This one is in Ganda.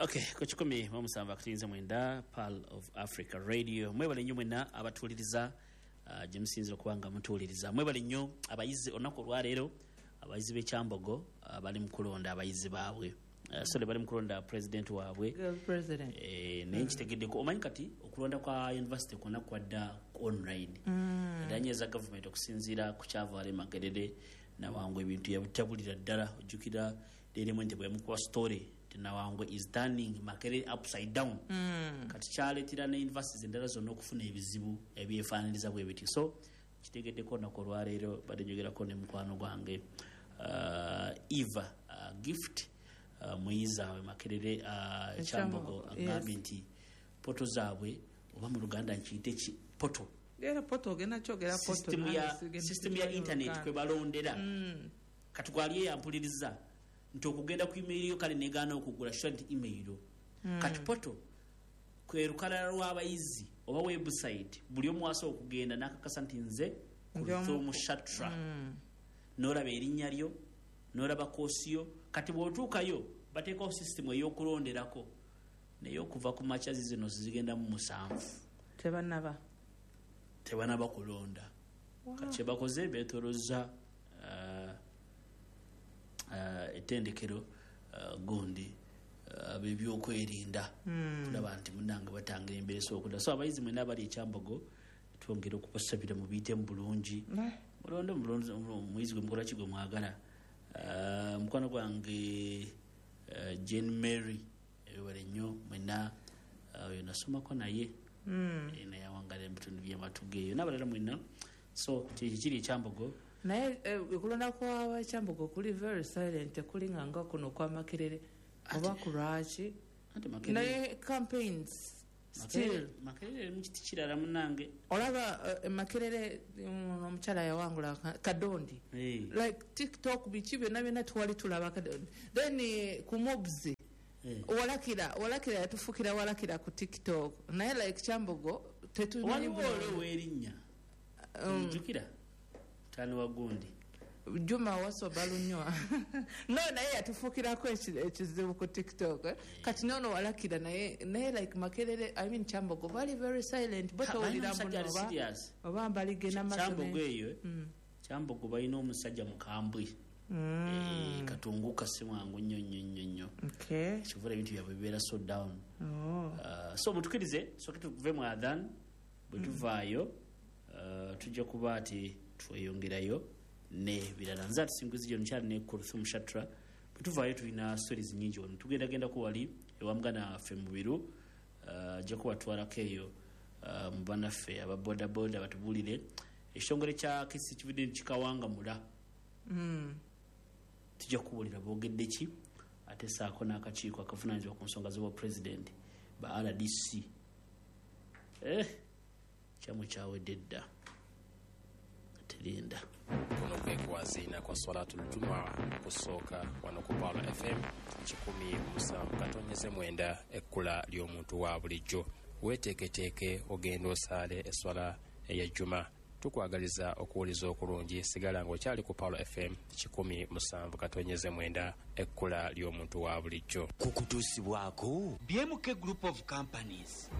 Okay, ku 107.9 Pearl of Africa Radio. Mwebale nnyo mwenna abatuwuliriza, gye musinzira okuba nga mutuwuliriza. Mwebale nnyo abayizi. Olunaku olwaleero abayizi b'ekyambogo bali mu kulonda abayizi baabwe. Sorry, bali mu kulonda president waabwe. Girl president. Naye nkitegeddeko, omanyi kati okulonda kwa university kwonna kwadda online. Era nyeeza gavumenti okusinziira ku kyavaala e Makerere. Nawangwe ebintu yabitabulira ddala. Ojjukira Daily Monitor bwe yamukuba story nti Nawangwe is turning Makerere upside down. Kati kyaleetera ne universities endala zonna okufuna ebizibu ebyefaaniriza bwe bityo. So kitegeddeko olunaku olwaleero badde njogerako ne mukwano gwange Eva Gift, muyizi awe Makerere Kyambogo, agambye nti portal zaabwe, oba mu Luganda nkiyite ki portal? Era portal, ogenda kyogera portal. System ya system ya internet kwe balondera. Kati gwali eyampuliriza nti okugenda ku email yo kale negaana okugula sure nti email. Kati portal kwe lukalala lw'abayizi oba website buli omu asobola okugenda n'akakasa nti nze Kulthum Shatra, n'olaba erinnya lyo, n'olaba koosi yo. Kati bw'otuukayo bateekawo system ey'okulonderako, naye okuva ku makyazi zino zigenda mu 7 Tebanaba. Tebanaba kulonda. Kati kyebakoze, beetolozza ettendekero gundi ab'ebyokwerinda kulaba nti munange batangira embeera esobola okudda. So abayizi mwena abali ekyambogo, twongera okubasabira mubiyitemu bulungi, mulonde omuyizi gwe mukola ki gwe mwagala. Mukwano gwange Jane Mary, ebibale nnyo mwena. Oyo nasomako naye. Naye awangala mu bitundu by'amatuga eyo n'abalala mwenna. So kyekyo kiri ekyambogo. Naye okulonda kwabakyambogo kuli very silent, tekuli nga nga kuno kwa Makerere, oba ku lwaki? Anti Makerere Naye campaigns still. Makerere mu kiti kirala munange. Olaba Makerere, omukyala yawangula Kadondi. Like TikTok, biki byonna byonna twali tulaba Kadondi. Then ku mobs, walakira walakira yatufukira walakira ku TikTok, naye like Kyambogo tetumanyi. Waliwo ole ow'erinnya, ojjukira tani wa gundi? Juma Wasoba Lunywa, no, naye yatufukirako ekizibu ku TikTok, eh? Kati nono walakira naye like Makerere, I mean Kyambogo, bali very silent bo. Ha, balina Towulira omusajja ali muno oba serious. Oba mbaligenda maaso. Kyambogo eyo, eh? Kyambogo balina omusajja mukambwe. Katunguka si mwangu nnyo nnyo nnyo nnyo. Kivula ebintu byabwe bibeera so down. Oh. So mutukirize soke tuve mu adhan. Bwe tuvaayo, tujja kuba ati tweyongerayo n'ebirala. Nze ati Singuzi gyo nkyali ne Kurthum Shatra. Bwe tuvaayo tulina stories nyingi wano, tugendagendako wali ewa muganda waffe Mubiru, ajja kubatwalako eyo mu bannaffe aba bodaboda batubuulire ekitongole kya Kisi kivudde kikawangamula. Tujja kubuulira boogedde ki, ate saako n'akakiiko akavunaanyizibwa ku nsonga z'obwapulezidenti ba RDC. Kyammwe kyawedde dda, terinda. Kuno kwe kwaziina kwa Swalatul Jumaa kusooka wano ku Pearl FM 107.9, ekkula ly'omuntu wa bulijjo. Weeteeketeeke ogenda osaale eswala eya Juma. Tukwagaliza okuwuliza okulungi. Sigala ng'okyali ku Pearl FM 107.9, ekkula ly'omuntu wa bulijjo. Kukutuusibwako BMK Group of Companies.